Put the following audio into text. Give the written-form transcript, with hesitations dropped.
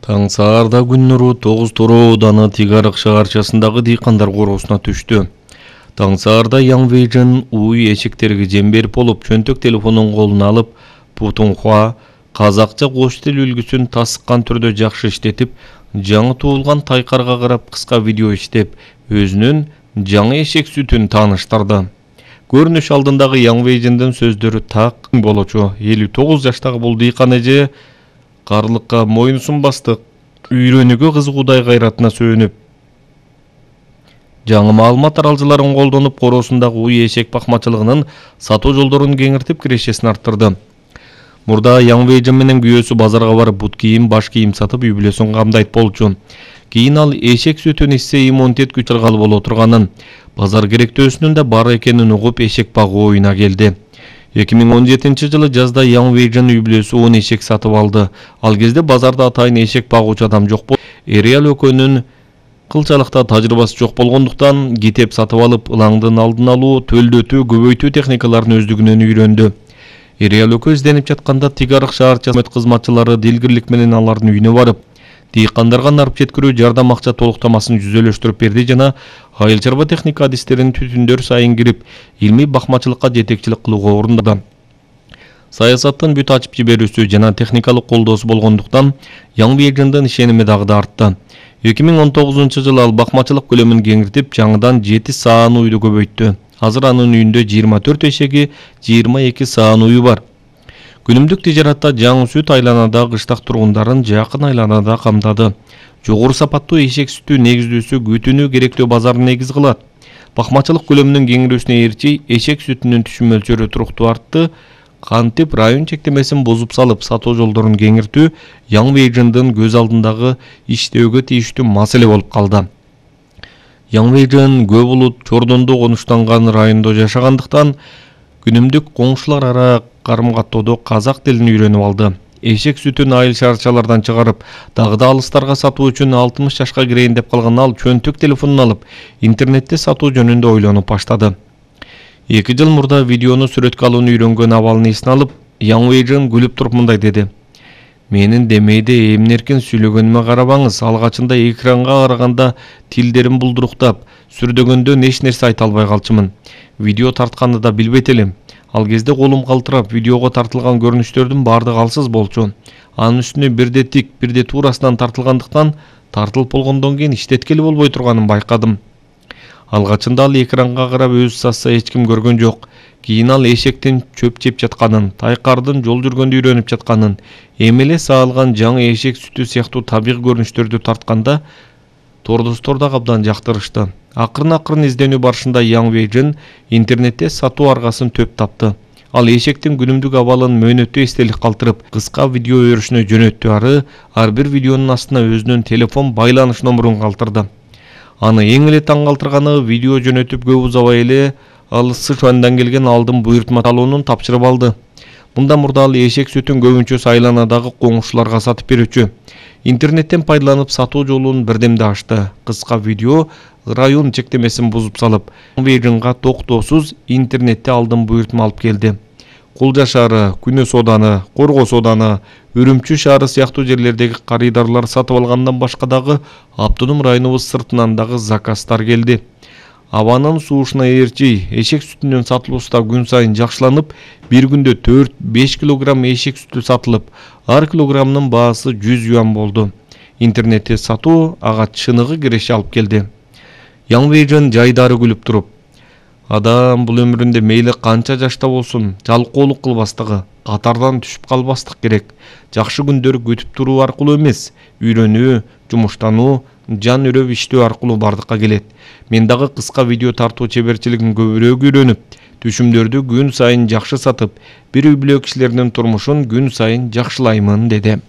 Таң саарда күн нуру 9 ауданы Тигарык шаарчасындагы дыйкандар короосуна түштү. Таң саарда Young Vision уй эшектерге жем берип болуп, чөнтөк телефонун колуна алып, Путунхуа казакча кош тил үлгүсүн тасыккан түрдө жакшы иштетип, жаңы туулган тайкарга карап кыска видео иштеп, өзүнүн жаңы эшек сүтүн тааныштырды. Көрүнүш алдындагы Young Vision'дын сөздөрү так болочу. 59 жаштагы бул дыйкан эже карлыкка мойнусун басты, үйрөнүүгө кызыгуудай кайратына сөөнүп, жаңы маалымат аралжыларын колдонуп, короосундагы уй эшек бакмачылыгынын сатуу жолдорун кеңиртип, кирешесин арттырды. Мурда Young Vision менен күйөөсү базарга барып, бут кийим, баш кийим сатып, үй бүлөсүн камдайт болчу. Кийин ал эшек сүтүн ичсе иммунитет күч алгалы боло турганын, базар керектөөсүнүн да бар экенин угуп, эшек багуу оюна келди. 2017 жылы жазда Young Vision үй бүлөсү 10 эшек сатып алды. Ал кезде базарда атайын эшек багуучу адам жок болуп, Эриал экөөнүн кылчалыкта тажрыйбасы жок болгондуктан китеп сатып алып, ылаңдын алдын алуу, төлдөтүү, көбөйтүү техникаларын өздүгүнөн үйрөндү. Эриал экөө изденип жатканда Тигарык шаарчасы кызматчылары дилгирлик менен алардын үйүнө барып, дыйкандарга нарып жеткирүү жардам акча толуктамасын жүзөлөштүрүп берди жана айыл чарба техника адистерин түтүндөр сайын кирип, илмий бакмачылыкка жетекчилик кылууга орундады. Саясаттын бүт ачып жиберүүсү жана техникалык колдоосу болгондуктан Young Vision'дын ишеними дагы да артты. 2019 жылы ал бакмачылык көлөмүн кеңиртип, жаңыдан 7 саан уйду көбөйттү. Азыр анын үйүндө 24 эшеги, 22 саан уйу бар. Күнүмдүк тижаратта жаңы сүт айланада кыштак тургундарын жакын айланада камдады. Жогору сапаттуу эшек сүтү негиздүүсү күтүүнү керектөө базарын негиз кылат. Бакмачылык көлөмүнүн кеңирүүсүнө ээрчи эшек сүтүнүн түшүм мөлчөрү туруктуу артты. Кантип район чектемесин бузуп салып, сатуу жолдорун кеңиртүү Young Vision'дын көз алдындагы иштөөгө тийиштүү маселе болуп калды. Young Vision көп улут чордондо конуштанган райондо жашагандыктан күнүмдүк коңшулар ара карым-каттоодо казак тилин үйрөнүп алды. Эшек сүтүн айыл шаарчалардан чыгарып, дагы да алыстарга сатуу үчүн 60 жашка кирейин деп калган ал чөнтөк телефонун алып, интернетте сатуу жөнүндө ойлонуп баштады. 2 жыл мурда видеону сүрөткө алууну үйрөнгөн абалын эсине алып, Young Vision күлүп туруп мындай деди: "Менин демейде эмнеркен сүйлөгөнүмө карабаңыз, алгачында экранга караганда тилдерим булдуруктап, сүрдөгөндө эч нерсе айта албай калчумун. Видео тартканды да билбейт элем. Ал кезде колум калтырап, видеого тартылган көрүнүштөрдүн баардыгы алсыз болчу. Анын үстүнө бирде тик, бирде туурасынан тартылгандыктан, тартылып болгондон кийин иштеткели болбой турганын байкадым. Алгачында ал экранга карап өзү сатса эч ким көргөн жок. Кийин ал эшектин чөп жеп жатканын, тайкардын жол жүргөндө үйрөнүп жатканын, эми эле саалган жаңы эшек сүтү сыяктуу табигый көрүнүштөрдү тартканда тордостор да абдан жактырышты. Акырын изденүү барышында Young Vision интернетте сатуу аргасын төп тапты. Ал эшектин күнүмдүк абалын мөөнөттүү эстелик калтырып, кыска видео өрүшүнө жөнөттү. Ар бир видеонун астына өзүнүн телефон байланыш номурун калтырды. Аны эң эле таң калтырганы, видео жөнөтүп көп узабай эле ал Сычуандан келген алдын буйртма талоонун тапшырып алды. Мындан мурда ал эшек сүтүн көбүнчөсү айланадагы коңшуларга сатып берүүчү. Интернеттен пайдаланып сатуу жолун бирдемде ачты. Кыска видео район чектемесин бузуп салып, Young Vision'га токтоосуз интернетте алдын буйртма алып келди. Кулжа шаары, Күнөс ооданы, Коргос ооданы, Үрүмчү шаары сыяктуу жерлердеги карыдарлар сатып алгандан башка дагы автоном районубуз сыртынан дагы заказдар келди. Абанын суушуна ээрчи эшек сүтүнүн сатылуусу да күн сайын жакшыланып, бир күндө 4-5 килограмм эшек сүтү сатылып, ар килограммынын баасы 100 юан болду. Интернетте сатуу ага чыныгы киреше алып келди. Young Vision жайдары күлүп туруп: "Адам бул өмүрүндө мейли канча жашта болсун, жалкоолук кылбастыгы, катардан түшүп калбастык керек. Жакшы күндөр күтүп туруу аркылуу эмес, үйрөнүү, жумуштануу, жан үрөп иштөө аркылуу бардыкка келет. Мен дагы кыска видео тартуу чеберчилигин көбүрөөк үйрөнүп, түшүмдөрдү күн сайын жакшы сатып, бир үй бүлө кишилеринин турмушун күн сайын жакшылаймын", деди.